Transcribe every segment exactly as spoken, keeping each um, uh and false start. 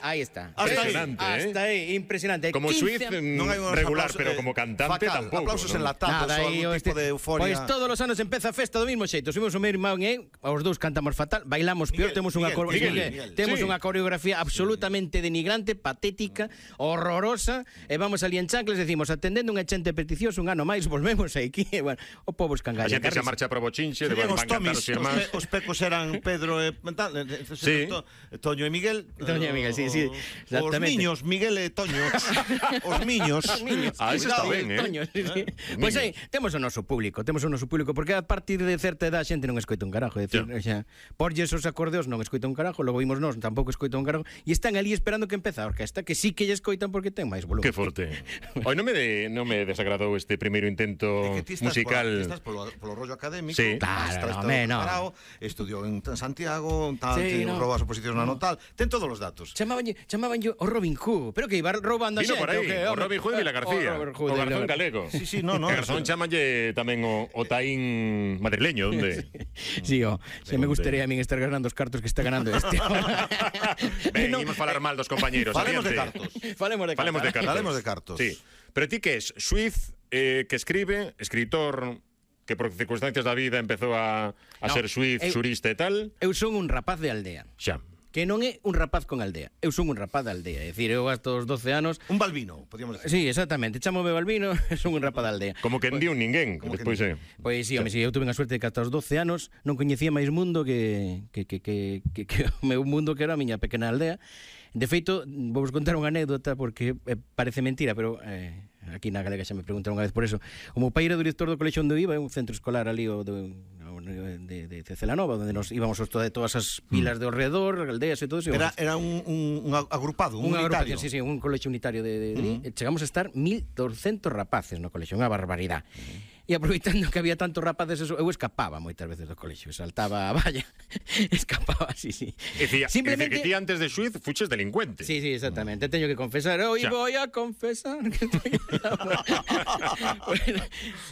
Ahí está. Hasta ahí, impresionante, ¿eh? Hasta ahí, impresionante. Como Suiz, non hai regular, aplausos, pero eh, como cantante fatal, tampouco. Aplausos ¿no? enlatados, Nada, algún aí, tipo este, de euforia. Pois todos os anos empeza a festa do mismo xeito. Subimos o meu irmán e os dous cantamos fatal, bailamos peor, Miguel, temos unha Miguel, coreografía, Miguel, Miguel. temos Sí. unha coreografía absolutamente denigrante, patética, horrorosa, e vamos ali en chancles, decimos, atendendo unha chente peticiosa un ano máis, volvemos aquí, e bueno, o pobo A escangalla. xente xa marcha pro bochinche, de Serían van os cantar Tomis, os os, irmáns. pe, os pecos eran Pedro e tal, Sí. Toño e Miguel. Toño e Miguel, sí, sí, Os exactamente. niños, Miguel e Toño. Os niños. Ah, eso está Cuidado, ben, eh. Toño, sí, sí. Eh, Pois aí, niños. temos o noso público, temos o noso público, porque a partir de certa edad a xente non escoita un carajo, é dicir, xa, porlles os acordeos non escoita un carajo, logo vimos nós, tampouco escoita un carajo, e están ali esperando que empeza a orquesta, que sí que lle escoitan porque ten máis volumen. Que forte. Hoy non me de, non me desagradou este primeiro intento É que ti estás musical. Polo, ti estás polo, polo rollo académico. Sí. Claro, estás home, no. preparado, estudiou en Santiago, tal, Sí, sí, no. rouba as oposicións na notal, ten todos os datos. Chamaban chamaban yo o Robin Hood, pero que iba roubando a Vino xente. por aí, que, o home? Robin Hood de Vila García, O Robin o Hood de Vila garzón García. galego. Sí, sí, no, no. O garzón chamalle tamén o, o taín madrileño, onde? Sí, oh, se me gustaría a min estar ganando os cartos que está ganando este. Ben, No, imos falar mal dos compañeiros. Falemos de adiante. cartos. Falemos de Falemos de cartas. cartos. Falemos de cartos. Sí. Pero ti que es Suiz, eh, que escribe, escritor, que por circunstancias da vida empezou a, a No, ser Suiz, eu- surista e tal. Eu son un rapaz de aldea. Xa. Que non é un rapaz con aldea. Eu son un rapaz de aldea. É dicir, eu hasta os doce anos. Un balbino, podíamos decir. Sí, exactamente. Chámome Balbino, son un rapaz de aldea. Como que en di un ninguén, Como que despois é. Pois sí, home, sí, eu tuve a suerte de que ata os doce anos non coñecía máis mundo que, que, que, que, que, que o meu mundo que era a miña pequena aldea. De feito, vou vos contar unha anécdota porque eh, parece mentira, pero eh, aquí na Galega xa me preguntaron unha vez por eso. O meu pai era director do colexio onde eu iba, é un centro escolar ali o do, de, de, de Celanova, onde nos íbamos os de todas as pilas de alrededor, aldeas e todo eso. Era, era un, un, un agrupado, un Unha unitario. agrupación, sí, sí, un colexio unitario de, de, de uh -huh. Chegamos a estar mil doscientos rapaces no colexio, unha barbaridade. Uh -huh. E aproveitando que había tantos rapaces, eso, eu escapaba moitas veces do colexio, saltaba a valla, escapaba, sí, sí. É dicir, Simplemente... que ti antes de Suiz fuches delincuente. Sí, sí, exactamente. Teño que confesar, hoy Xa. voy a confesar que estoy... Bueno,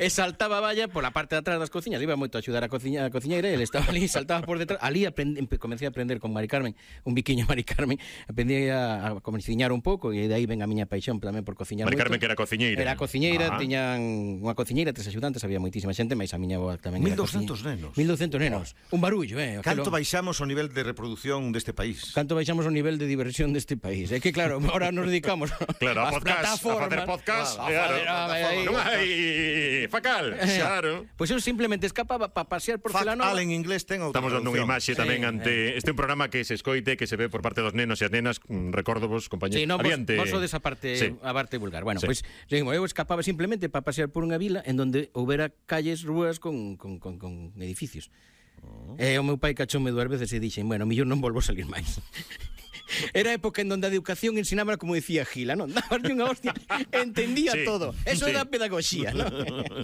e saltaba a valla pola parte de atrás das cociñas, iba moito a axudar a cociña, a cociñeira, e ele estaba ali, saltaba por detrás, ali aprend... comecei a aprender con Mari Carmen, un biquiño Mari Carmen, aprendí a, a cociñar un pouco, e de aí ven a miña paixón tamén por cociñar Mari moito. Carmen, que era cociñeira. Era cociñeira, Ajá. tiñan unha cociñeira, tres axudantes, había moitísima xente, mais a miña avó tamén mil era doscientos cociñeira. nenos. mil doscientos nenos. Un barullo, eh. Canto aquelo... baixamos o nivel de reproducción deste país? Canto baixamos o nivel de diversión deste país. É que claro, ahora nos dedicamos Claro, a ás podcast, a plataformas. facer podcast, A claro. facer- a- aí- Non hai facal, claro. Pois eu simplemente escapaba para pasear por Fuck Celanova. all en inglés ten outra Estamos dando unha traducción. imaxe tamén Sí, ante este é un programa que se escoite, que se ve por parte dos nenos e as nenas, mm, recordo vos, compañeros. Sí, no, vos, Adiante. vos sodes a parte, Sí. a parte vulgar. Bueno, Sí. pois pues, seguimos, eu escapaba simplemente para pasear por unha vila en donde houbera calles, rúas con, con, con, con edificios. Oh. E o meu pai cachoume dúas veces e dixen, bueno, millón non volvo a salir máis. Era época en donde a educación ensinaba como decía Gila, non? Dabaslle unha hostia, entendía Sí, todo. Eso sí. era pedagogía, non?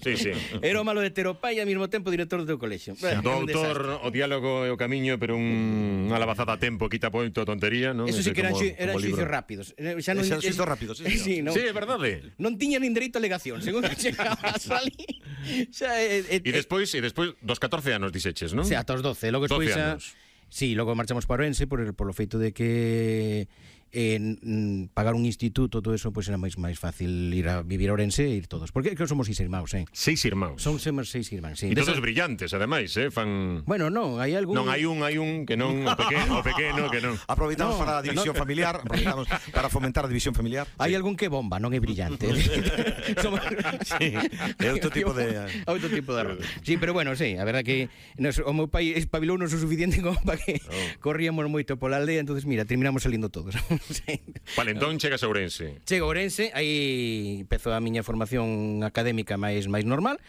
Sí, sí. Era o malo de ter o pai e ao mesmo tempo director do teu colexio. Bueno, Do un desastre. autor, o diálogo e o camiño, pero un, unha lavazada a tempo quita moito tontería, non? Eso sí Ese que eran, como- xu- eran como libro. xuicios rápidos. Eh, Xa non, Eran xuicios rápidos, sí, señor. sí, non, Sí, é verdade. non tiña nin dereito a alegación, según chegaba a salir. Xa, eh, eh, E despois, e despois dos catorce anos dixeches, non? O sea, ata os doce, logo despois doce xa... anos. Sí, logo marchamos para Orense por, por lo feito de que eh, n- pagar un instituto, todo eso, pois pues era máis máis fácil ir a vivir a Orense e ir todos. Porque que somos seis irmãos, eh? Seis irmãos. Son somos seis irmãos, sí. E todos Desas- brillantes, ademais, eh? Fan... Bueno, non, hai algún... Non, hai un, hai un que non, o pequeno, o pequeno que non. Aproveitamos No, para a división no. familiar, aproveitamos para fomentar a división familiar. Hai algún que bomba, non é brillante. Somos... Sí, é outro tipo de- outro tipo de error. Sí, pero bueno, sí, a verdad que nos, o meu pai espabilounos o suficiente como para que Oh. corríamos moito pola aldea, entonces mira, terminamos salindo todos. Sí. Vale, entón chegas a Ourense. Chego a Ourense, aí empezou a miña formación académica máis máis normal.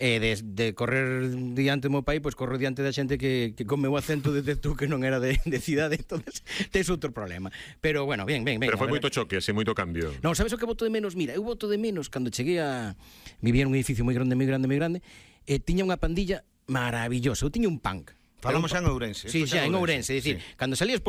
E de, de correr diante do meu pai, pois corro diante da xente que, que con meu acento de tú que non era de, de cidade, entonces tes outro problema. Pero bueno, ben, ben, ben. Pero foi a moito verdad- choque, así, moito cambio. Non, sabes o que boto de menos? Mira, eu boto de menos cando cheguei a... Vivía nun edificio moi grande, moi grande, moi grande, e tiña unha pandilla maravillosa. Eu tiña un punk. Falamos xa en Ourense. Sí, Isto xa, en Ourense. É dicir, Sí. cando salías por